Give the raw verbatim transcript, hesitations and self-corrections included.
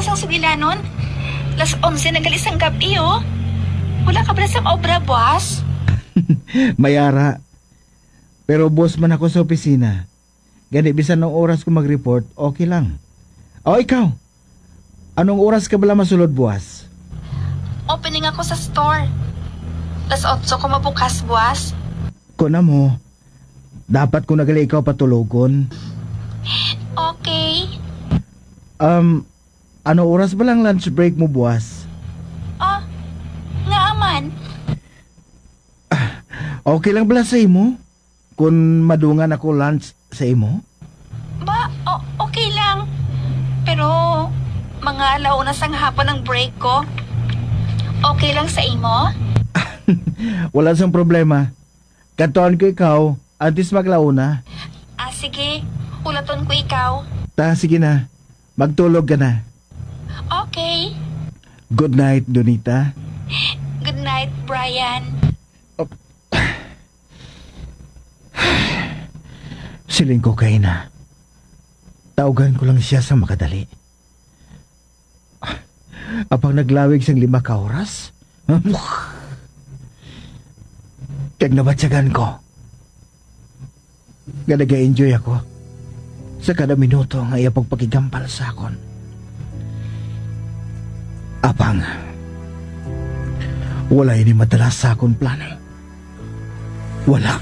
Sang sugilanon, las onse na gali sang gab-i, oh. Wala ka bala sang obra, boss? May ara. Pero boss man ako sa opisina. Gani, bisan anong oras ko mag-report, okay lang. O, ikaw? Anong oras ka bala masulod buwas? Opening ako sa store. Las otso ko mabukas, boss. Kuna mo, dapat ko na gali ikaw patulogon. Okay. Um, ano oras ba lang lunch break mo buwas? Oh, nga man. Okay lang bala sa imo? Kung madungan ako lunch sa imo? Ba, o- okay lang. Pero, mga alauna sang hapon ang break ko. Okay lang sa imo? Wala sang problema. Kadtuan ko ikaw, antes maglauna. Ah, sige. Ulaton ko ikaw. Ta, sige na. Magtulog ka na. Okay. Good night, Donita. Good night, Brian. Siling ko kay na. Tawgan ko lang siya sa makadali. Apang naglawig sang lima ka oras? Kag nabatyagan ko nga nag-enjoy ako sa kada minuto nga iya pagpakigambal sa akon. Apang, wala ini madala sa akon plano. Wala.